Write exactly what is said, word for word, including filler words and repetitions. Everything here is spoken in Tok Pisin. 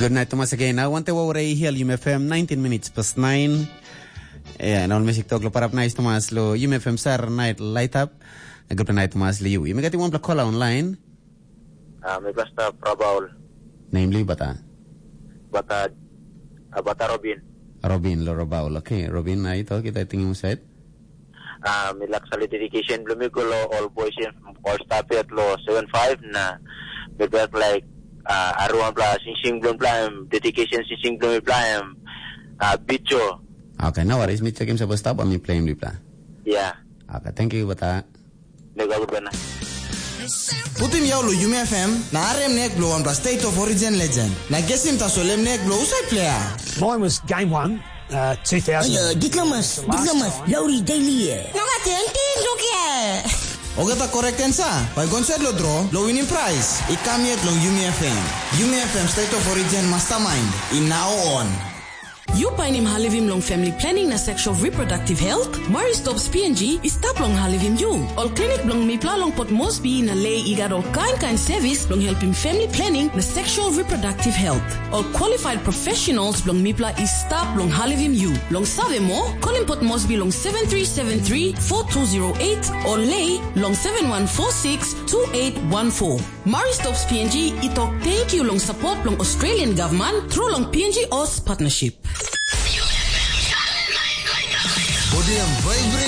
Good night, Thomas, again. Now, wante wawre i hial Yum F M, nineteen minutes past nine. Yeah, na ol mesik tok lo parap nice, Thomas, lo Yum F M sar night light up. Good night, Thomas, lo you. You may get one play caller online. Ah, mi basta Prabaul. Namely, bata? Bata, ah, bata Robin. Robin, lo Rabaul. Okay, Robin, na ito, kita tingin mo side. Ah, mi lak sali dedication bilong mi go lo all boys and all staff yet lo seven five na mi bek like, ah, everyone bla singsing bilong bla em dedication singsing bilong mi bla em, ah, bicho. Okay, no worries. Mi check him sa basta ba mi play him di bla. Yeah. Okay, thank you, bata. Nega good bana. Putim yau lo Yumi F M, na arem nek blo wanpla State of Origin legend. Na gesim tasol em nek blo usai player. Mine was game one, uh, two thousand. Ayo, diplomas, diplomas, lauri daily e. Nonga ting ting duke. Ogata correct answer, bai gonset lo draw, lo winning prize. I kam yet long Yumi F M. Yumi F M State of Origin Mastermind, in now on. Yu painim halivim long family planning na sexual reproductive health? Maristops P N G i stap long halivim yu. Ol klinik bilong mipela long Port Moresby na Lei i gat ol kain kain sevis bilong helpim family planning na sexual reproductive health. Ol qualified professionals bilong mipela i stap long halivim yu. Long save moa, kolim Port Moresby long seven three seven three four two zero eight o Lei long seven one four six two eight one four. Maristops P N G i tok tenkyu long sapot bilong Australian Government tru long P N G Oz Partnership. Body and vibrate.